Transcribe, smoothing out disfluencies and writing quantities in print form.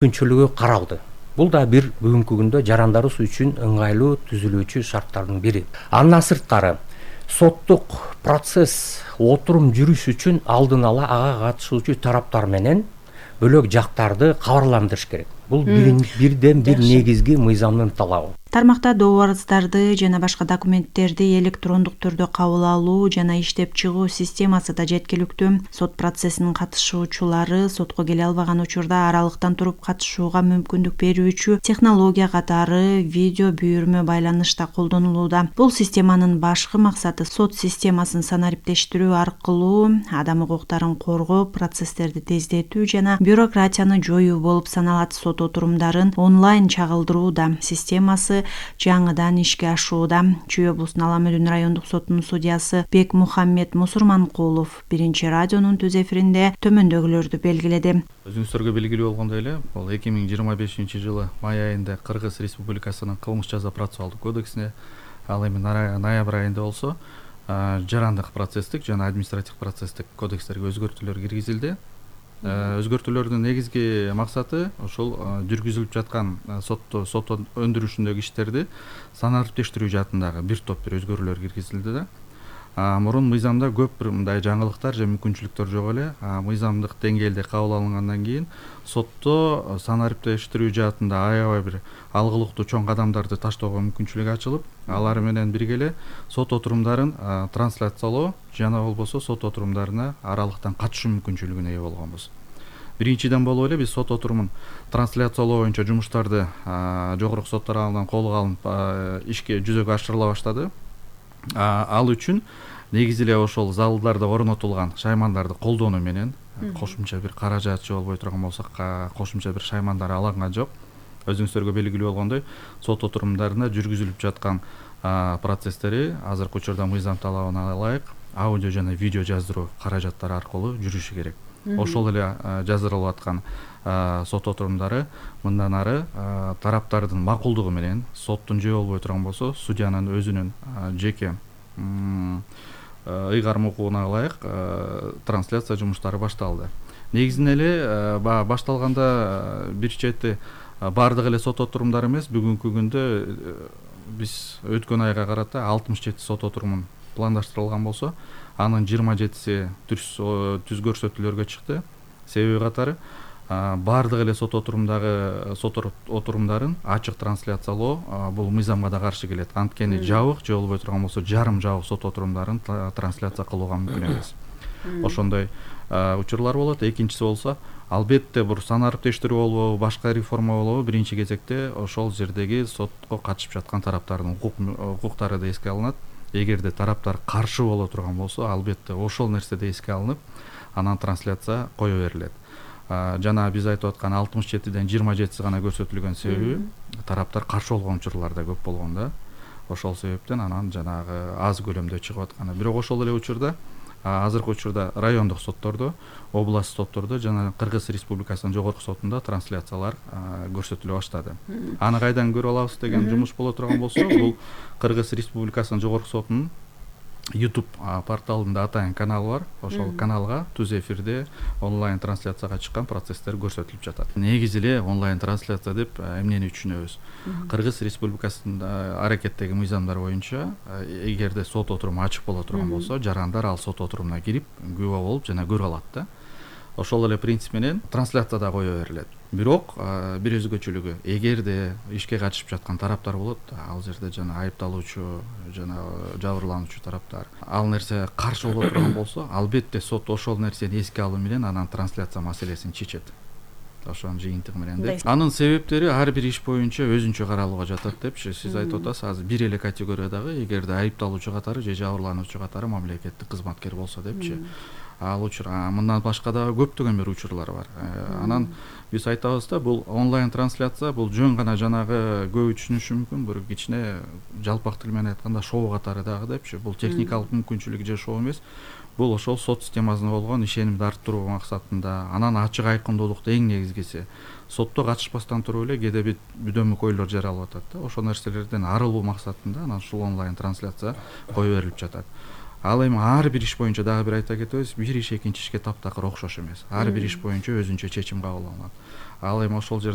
мүмкүнчүлүгү каралды. Бул да бир бүгүнкү күндө жарандарыбыз үчүн ыңгайлуу түзүлүүчү шарттардын бири. Андан сырткары соттук процесс отурум жүрүш үчүн алдын ала ага катышуучу тараптар менен бөлөк жактарды кабарландырыш керек. Бул бирден бир негизги мыйзамдын талабы. Тармакта добу арыздарды жана башка документтерди электрондук түрдө кабыл алуу жана иштеп чыгуу системасы да жеткиликтүү. Сот процессинин катышуучулары сотко келе албаган учурда аралыктан туруп катышууга мүмкүндүк берүүчү технология катары видео буйрма байланыш да колдонулууда. Бул системанын башкы максаты сот системасын санариптештирүү аркылуу адам укуктарын коргоо, процесстерди тездетүү жана бюрократияны жоюу болуп саналат. Сот отурумдарын онлайн чагылдырууда. Системасы жаңыдан ишке ашууда. Чүй облусунун Ала Мөдөн райондук сотунун судьясы Бекмухаммед Мусурманкулов биринчи радионун түз эфиринде төмөндөгүлөрдү белгиледи. Өзүңүздөргө белгилүү болгондой эле, бул 2025-жылы май айында Кыргыз Республикасынын кылмыш жаза процессуалдык кодексине, ал эми ноябрь айында болсо жарандык процесстик жана административдик процесстик кодекстерге өзгөртүүлөр киргизилди. Өзгөртүүлөрдүн негизги максаты ошол жүргүзүлүп жаткан сот өндүрүшүндөгү иштерди санариптештирүү жаатындагы бир топ өзгөрүүлөр киргизилди да. Мурун мыйзамда көп бир мындай жаңылыктар же мүмкүнчүлүктөр жок эле. Мыйзамдык деңгээлде кабыл алынгандан кийин сотто санариптештирүү жаатында аябай бир алгылыктуу чоң кадамдарды таштоого мүмкүнчүлүк ачылып, алар менен бирге эле сот отурумдарын трансляциялоо жана болбосо сот отурумдарына аралыктан катышуу мүмкүнчүлүгүнө ээ болгонбуз. Биринчиден болуп эле биз сот отурумун трансляциялоо боюнча жумуштарды жогорку сот тарабынан колго алынып ишке жүзөгө ашырыла баштады. Ал үчүн негизи эле ошол залдарда орнотулган шаймандарды колдонуу менен кошумча бир каражат же болбой турган болсо кошумча бир шаймандар алынган жок. Өзүңүздөргө белгилүү болгондой, сот отурумдарында жүргүзүлүп жаткан процесстери азыркы учурда мыйзам талабына ылайык аудио жана видео жаздыруу каражаттары аркылуу жүрүшү керек. Ошол эле жаздырылып аткан сот отурумдары мындан ары тараптардын макулдугу менен соттун же болбой турган болсо судьянын өзүнүн жеке ыйгарым укугуна ылайык трансляция жумуштары башталды. Негизинен эле башталганда бир чети баардык эле сот отурумдары эмес, бүгүнкү күндө биз өткөн айга карата 67 сот отурумун пландаштырылган болсо, анын 27си түз көрсөтүүлөргө чыкты. Себеби катары баардык эле сот отурумдарын ачык трансляциялоо бул мыйзамга да каршы келет. Анткени жабык же болбой турган болсо жарым жабык сот отурумдарын трансляция кылууга мүмкүн эмес. Ошондой учурлар болот. Экинчиси болсо, албетте бул санариптештирүү болобу, башка реформа болобу, биринчи кезекте ошол жердеги сотко катышып жаткан тараптардын укуктары да эске алынат. Эгерде тараптар каршы боло турган болсо, албетте ошол нерсе да эске алынып, анан трансляция кое берилет. Жана биз айтып аткан 67ден 27си гана көрсөтүлгөн себеби тараптар каршы болгон учурлар да көп болгон да. Ошол себептен анан жанагы аз көлөмдө чыгып атканы. Бирок ошол эле учурда азыркы учурда райондук соттордо, област соттордо жана Кыргыз Республикасынын жогорку сотунда трансляциялар көрсөтүлө баштады. Аны кайдан көрүп алабыз деген жумуш боло турган болсо, бул Кыргыз Республикасынын жогорку сотунун YouTube порталында атайын каналы бар. Ошол каналга түз эфирде онлайн трансляцияга чыккан процесстер көрсөтүлүп жатат. Негизи эле онлайн трансляция деп эмнени түшүнөбүз? Кыргыз Республикасында аракеттеги мыйзамдар боюнча эгерде сот отуруму ачык боло турган болсо, жарандар ал сот отурумуна кирип, күбө болуп жана көрө алат да. Ошол эле принцип менен трансляция да кое берилет. Бирок бир өзгөчөлүгү, эгерде ишке катышып жаткан тараптар болот, ал жерде жана айыпталуучу жана жабырлануучу тараптар, ал нерсе каршы боло турган болсо, албетте сот ошол нерсени эске алуу менен анан трансляция маселесин чечет. Ошонун жыйынтыгы менен деп. Анын себептери ар бир иш боюнча өзүнчө каралууга жатат депчи. Сиз айтып атасыз, азыр бир эле категориядагы эгерде айыпталуучу катары же жабырлануучу катары мамлекеттик кызматкер болсо депчи. Ал учур мындан башка да көптөгөн бир учурлар бар. Анан биз айтабыз да, бул онлайн трансляция бул жөн гана жанагы көбү түшүнүшү мүмкүн бир кичине жалпак тил менен айтканда шоу катары дагы депчи. Бул техникалык мүмкүнчүлүк же шоу эмес. Бул ошол сот системасына болгон ишенимди арттыруу максатында, анан ачык айкындуулукту эң негизгиси сотто катышпастан туруп эле кээде бүдөмүк ойлор жаралып атат да. Ошол нерселерден арылуу максатында анан ушул онлайн трансляция кое берилип жатат. Ал эми ар бир иш боюнча дагы бир айта кетебиз, бир иш экинчи ишке таптакыр окшош эмес. Ар бир иш боюнча өзүнчө чечим кабыл алынат. Ал эми ошол жерде